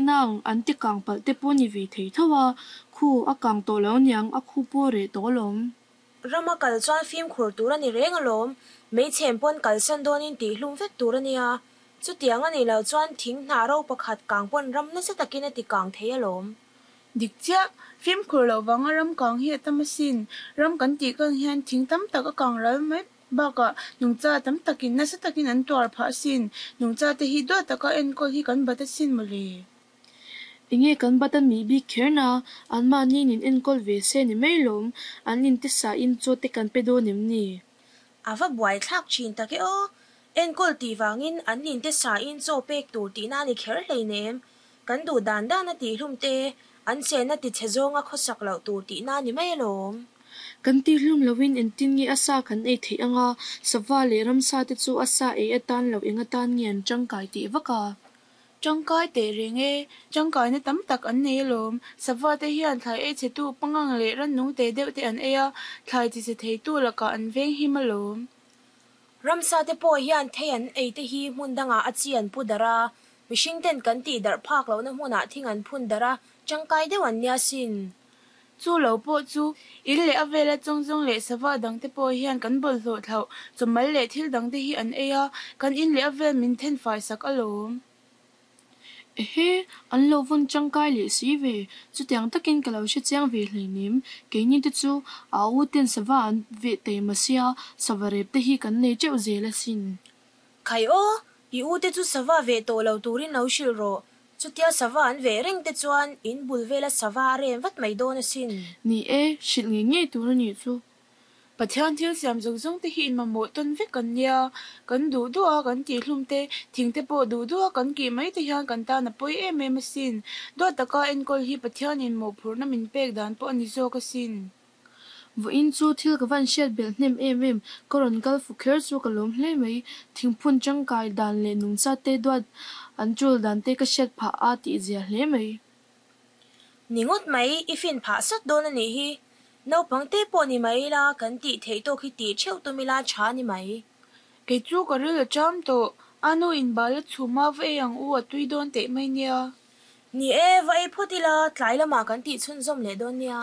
nang, an ti kang palh te pawh ni ve thei tho a, khu a kang tawh lo niang, a khu pawh reh tawh alawm. Rama kal chuan fimkhur tur a ni reng alawm, meichhem pawn kalsan dawnin tihhlum vek tur a nia. Chutiang a nih loh chuan thing hnah ro pakhat kang pawn ram nasa takin a ti kang thei alawm. Dik chiah, fimkhur loh vanga ram kang hi a tam asin. Ram kan tih kang hian thing tam tak a kang ral mai bakah nungcha tam takin nasa takin an tuar phah asin. Nungcha te hi duat taka enkawl hi kan bat asin mawle. Enge kan bat a mih bik kher na, anmahni in enkawl ve se ni mai lawm, an inte sain chaw te kan pe dawn em ni? A va buaithlak thin tak e aw! Enkawl tih vangin an inte sain chaw pek tur tihna a ni kher hleinem. Kan duh dan dan a tihhlum te, an chenna tichhe zawnga khawsak loh tur tihna a ni mai alawm. Kan tihhlum loin engtin nge a sa kan ei theih anga, sava leh ramsa te chu a sa ei atan loh eng atan nge an tangkai teh vak a? Tangkai teh reng e, tangkaina tam tak an nei alawm. Sava te hian thlai ei chhetu pangang leh rannung te deuh te an ei a, thlai tichhe theitu lakah an veng him alawm. Ramsa te pawh hian thei an ei te hi hmun dangah a chi an pu darh a, mihring ten kan tih darh phak lohna hmunah thing an phun darh a, tangkai deuh an nia sin. Chu lo pawh chu, in leh a vela chawngzawng leh sava dangte pawh hian kan bawlhhlawh thlauh, chawmal leh thil dangte hi an ei a, kan in leh a vel min then fai sak alawm. Ehe, an lo vawn tangkai leh si ve, chutiang takin ka lo hre chiang ve hleinem, keini te chu a u ten sava an veh taima sia, sava rep te hi kan nei teuh zel asin. Khai aw, i u te chu sava veh tawh lo turin lo hrilh rawh, chutia sava an veh reng te chuan in bul vela sava a rem vat mai dawn asin. Ni e, hrilh ngei ngei tur a nih chu. Pathian thil siam zawng zawng te hi inmamawh tawn vek kan nia, kan duh duh a kan tihhlum te, thing te pawh duh duh a kan kih mai te hian kan tan a pawi em em asin. Duat taka enkawl hi Pathianin mawhphurhna min pek dan pawh a ni zawk asin. Vawiin chu thil ka van hriat belh hnem em em, ka rawn kal fu kher chu ka lawm hle mai. Thingphun tangkai dan leh nungcha te duat an tul dan te ka hriat phah a tih zia hle mai. Ni ngawt mai, i fin phah sat dawn a nih hi. Naupang te pawh ni mai ila kan tih theih tawk hi tih theuh tum ila tha a ni mai. Kei chu ka ril a cham tawh, a nu in bal a chhum a va ei ang u a tui dawn teh mai nia. Ni e, va ei phawt ila tlai lamah kan tih chhunzawm leh dawn nia.